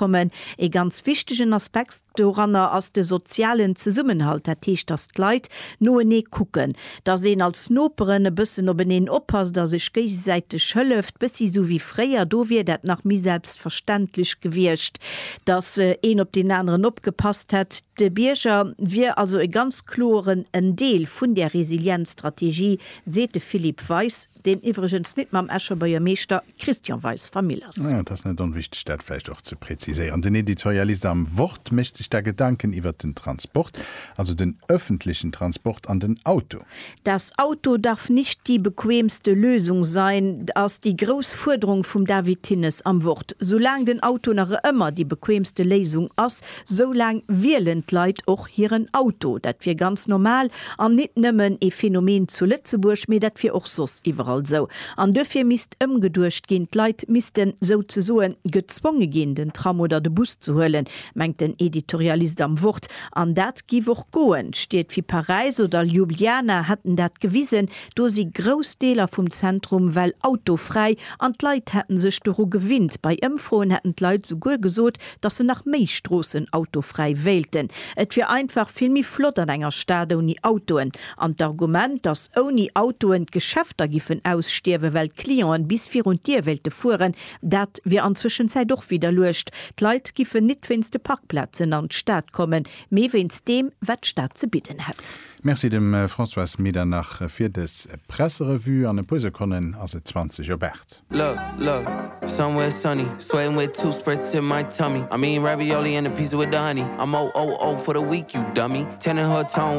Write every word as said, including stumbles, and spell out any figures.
kommen. Ee ganz wichtegen Aspekt doranner ass de sozialen Zesummenhalt, dat heescht, dass d'Leit noenee kucken, dass een als Noperen e bëssen openeen oppasst a sech géigesäiteg hëlleft, bëssi sou wéi fréier, do wier dat nach méi selbstverständlech gewiescht, dass een op deen aneren opgepasst hätt. De Bierger wier also e ganz kloren en Deel vun där Resilienzstrategie, seet de Philippe Weis, deen iwwregens nit mam Escher Buergermeeschter Christian Weis Famill ass. Ja, dat ass net onwichteg, dat vläicht och ze präziséieren. Den Editorialist am Wort mécht sech da Gedanken iwwer den Transport, also den ëffentlechen Transport an den Auto. Das Auto darf nicht die bequemste Lösung sein, ass déi grouss Fuerderung vum David Thinnes am Wort. Soulaang den Auto nach ëmmer déi bequemste Léisung ass, soulaang wielen d'Leit och hiren Auto. Dat wier ganz normal an nit nëmmen e Phänomen zu Lëtzebuerg, mee dat wier och soss iwwerall sou. An duerfir misst ëmgeduecht ginn, d'Leit missten souzesoen gezwonge ginn, den Tram oder de Bus ze huelen, mengt den Editorialist am Wort. An dat giff och goen. Stied wéi Paräis oder Ljubljana hätten dat gewisen, do si grouss Deeler vum Zentrum well autofräi an d'Leit hätten sech doru gewinnt. Bei Ëmfroen hätten d'Leit souguer gesot, dass se nach méi Stroossen autofräi wéilten. Et wier einfach vill méi flott an enger Stad ouni Autoen. An d'Argument, dass ouni Autoen d'Geschäfter giffen ausstierwen, well d'Clienten bis virun d'Dier wéilte fueren, dat wier an Zwëschenzäit och widderluecht. D'Leit giffen nit wéinst de Parkplazen an d'Stad kommen, mee wéinst deem, wat d'Stad ze bidden hätt. Merci dem Françoise Medernach fir dës Presserevue. An e puer Sekonnen ass et zwanzeg op aacht. Look, look, somewhere sunny, sweating with two spritz in my tummy. I mean ravioli and a pizza with the honey. I'm O O O for the week, you dummy. Ten in her tone.